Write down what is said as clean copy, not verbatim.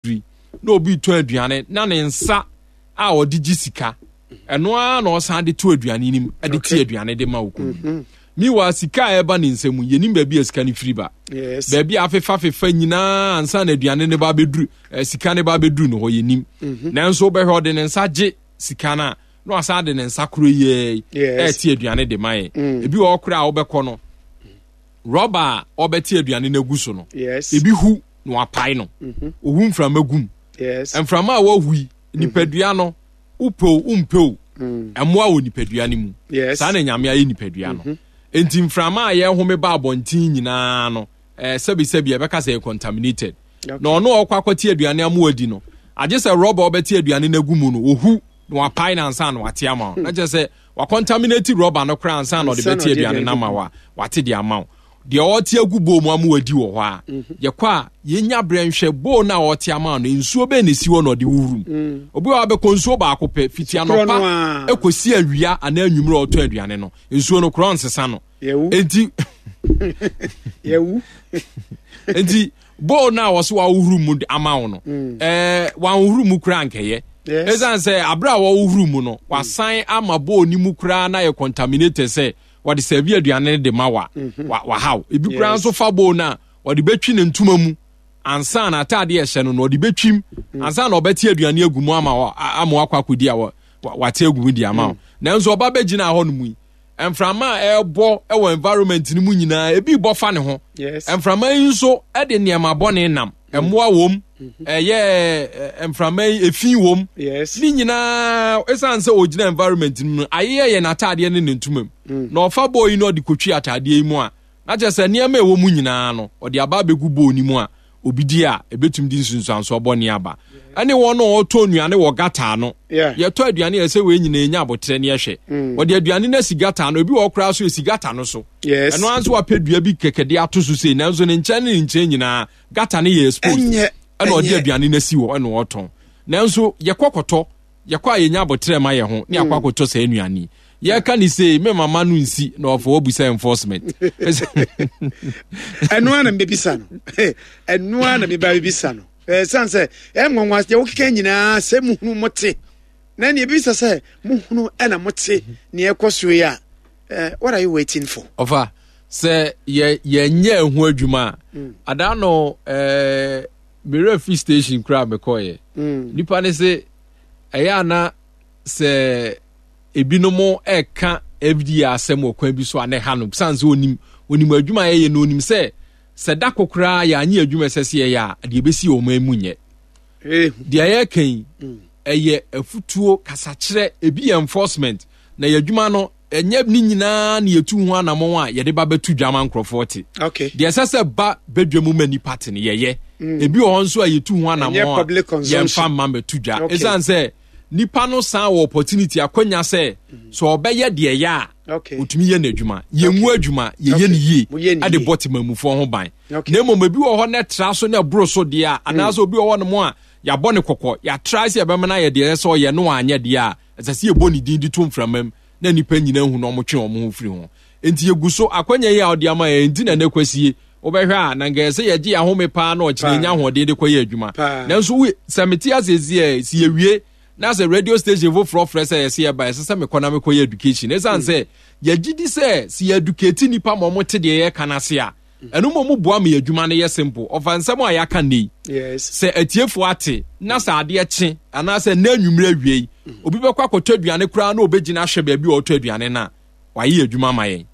Bi na obi retɔ aduane na ne nsa a ɔde gye sika ɛno ara na ɔsan de to aduane no mu de te aduane de ma okunu. Meanwhile, sika a ɛba ne nsa mu yɛnim baabi a sika no firi ba. Baabi a afefafefa nyinaa ansa na aduane no ba abɛduru eh, sika no ba abɛduru no hɔ yɛnim. Nanso wobɛhwɛ ɔde ne nsa gye sika no a na wasan de ne nsa koro yɛɛ ɛte aduane de ma yɛ. Ebi wɔ hɔ koraa a wobɛkɔ no rɔba a ɔbɛte aduane no agu so no ebi hu na wapae no mhm. ohu mframa gum mframa a wahu yi mhm. nipadua no wopɛ o wompɛ o mm. ɛmmoa wɔ nipadua no mu saa na nyame ayɛ nipadua no mhm. nti mframa a yɛhome ba abɔnten nyinaa no eh, sɛbisɛbi ɛbɛka sɛ yɛ contaminated na ɔno a ɔkɔ akɔte aduane amu adi no agye sɛ rɔba ɔbɛte aduane no agu mu no ohu na wapae no ansa na wate ama wo na kyerɛ sɛ wacontaminate rɔba no koraa ansa na ɔde bɛte aduane no ama wo a wate de ama wo deɛ ɔte agu bowl mu ama wadi wɔ hɔ a mhm. yɛkɔ a yɛnya berɛ nhwɛ bowl no a ɔte ama no nsuo bɛn na ɛsi hɔ na ɔde wurum mm. obi wɔ abɛkɔ nsuo baako pɛ fiti anɔpa ɛkɔsi awia anaa anwummerɛ ɔtɔ aduane no nsuo no korɔ nsesa no enti yɛwu enti bowl no a wɔso wawohuru mu ama wo no mm. ɛɛ wanwohuru mu koraa nkɛyɛ ɛsiane sɛ abere a wɔwohuru mu no wasan ama bowl no mu koraa na yɛ contaminated sɛ wɔde sɛvi aduane no de ma wa mhm. wahaw ebi koraa nso fa bowl no a wɔde bɛtwi ne ntoma mu ansa na ataade ɛhyɛ no na ɔde bɛtwim mm. ansa na ɔbɛte aduane agu mu ama ama wakɔ akɔdi a wate agu mu di ama wo mm. nanso ɔba bɛgyina hɔ no mu yi mframa a ɛrebɔ wɔ environment no mu nyinaa ebi bɔ fa ne ho mframa yi nso de nneɛma bɔne nam mm. mmoa wom mm-hmm. ɛyɛ mframa yi efi wom ne nyinaa esan sɛ ogyina environment no mu ayeyɛ yɛ n'ataadeɛ ne ne ntoma mu mm. na ɔfa bɔɔl yi na ɔde kotwi ataadeɛ yi mu a na kyerɛ sɛ nneɛma a ɛwɔ mu nyinaa no ɔde aba abɛgu bɔɔl no mu a obi di a ebetumi de nsunsuansoɔ bɔne aba ɛne wɔn a wɔtɔ nnuane wɔ gata ano yɛtɔ aduane yɛ sɛ wei nyinaa nya abotrɛ ne ɛhwɛ mm. wɔde aduane no asi gata ano ebi wɔ koraa so esi gata no so ɛno ara nso wapɛ dua bi kɛkɛ de ato so sei nanso ne nkyɛn ne ne nkyɛn nyinaa gata no yɛ exposed ɛna ɔde aduane no asi hɔ ɛna ɔtɔn nanso yɛkɔ kɔtɔ Yɛkɔ a yɛnya aboterɛ ma yɛn ho ne akɔ mm. akɔtɔ saa nnuane yi. Yɛka ne sei me mama no nsi na ɔfɔ wabu sɛ enforcement. Ɛno ara na mebɛbisa no. Ɛno ara na meba bɛbisa no. Ɛsiane sɛ ɛnwanwa deɛ wokeka nyinaa sɛ muhunu mote na nea ebisa sɛ muhunu ɛna mote nea ɛkɔ so yi a what are you waiting for? Ɔfa sɛ yɛ yɛnyɛ ɛho adwuma a mm. adaa no ɛɛ mewura fi station koraa mekɔɔyɛ mm. nipa ne se ɛyɛ ana sɛ ebinom ɛka FDA asɛm wɔ kwan bi so a na ɛha no san sɛ onim onim adwuma a yɛyɛ no onim sɛ sɛ da ko koraa yɛanye adwuma ɛsɛ sɛ yɛyɛ a deɛ ɛbɛsi wɔ ɔman mu nyɛ deɛ yɛka yi mm. ɛyɛ afutuo kasakyerɛ ebi yɛ enforcement na yɛ adwuma no ɛnyɛ ne nyinaa na yɛtu ho anammɔn a yɛde ba bɛto dwa ma nkurɔfoɔ te deɛ ɛsɛ sɛ ba badwa mu ma nnipa te no yɛyɛ mm. ebi wɔ hɔ nso a yɛtu ho anammɔn a yɛmfa mma mmɛto dwa ɛsiane sɛ nipa no san wɔ opportunity akwanya sɛ mm. sɛ ɔbɛyɛ deɛ ɛyɛ a ɔtumi yɛ n'adwuma yɛngu adwuma yɛyɛ no yie ɛde bɔ temamufoɔ ho ban na mmom ebi wɔ hɔ na ɛtra so na ɛboro so deɛ a anaasɛ obi wɔ hɔ nom a yɛabɔ ne kɔkɔ yɛatra sɛ yɛbɛma no ayɛ deɛ ɛsɛ sɛ ɔyɛ no anyɛ deɛ a ɛsɛ sɛ yɛbɔ ne din de to mframa mu na nnipa nyinaa hu na wɔtwe wɔn ho firi ho. Enti yɛgu so, akwanya yi a ɔde ama yɛn nti na ɛnɛ kwasie, wobɛhwɛ a, na nka ɛsɛ yɛgye yɛn ahome paa na ɔkyena yɛnya ahoɔden de kɔyɛ adwuma. Nanso wo, sɛ mete ase si ɛ, si yɛwie na sɛ radio station foforɔ frɛ sɛ yɛsɛ yɛba, ɛsɛ sɛ mekɔ na mekɔyɛ education. Ɛsiane sɛ yɛgye di sɛ sɛ yɛ educate nnipa ma wɔte deɛ yɛka no ase a, ɛno mmom boa ma yɛ adwuma no yɛ simple. Ɔfa nsɛm a yɛaka nnɛ yi, sɛ atiefoɔ ate na sɛ adeɛ kye anaasɛ nnɛ anwummerɛ awie yi, mm. obi bɛkɔ akɔtɔ aduane koraa na ɔbɛgyina ahwɛ baabi a ɔtɔ aduane no a, wayɛ adwuma ama yɛn.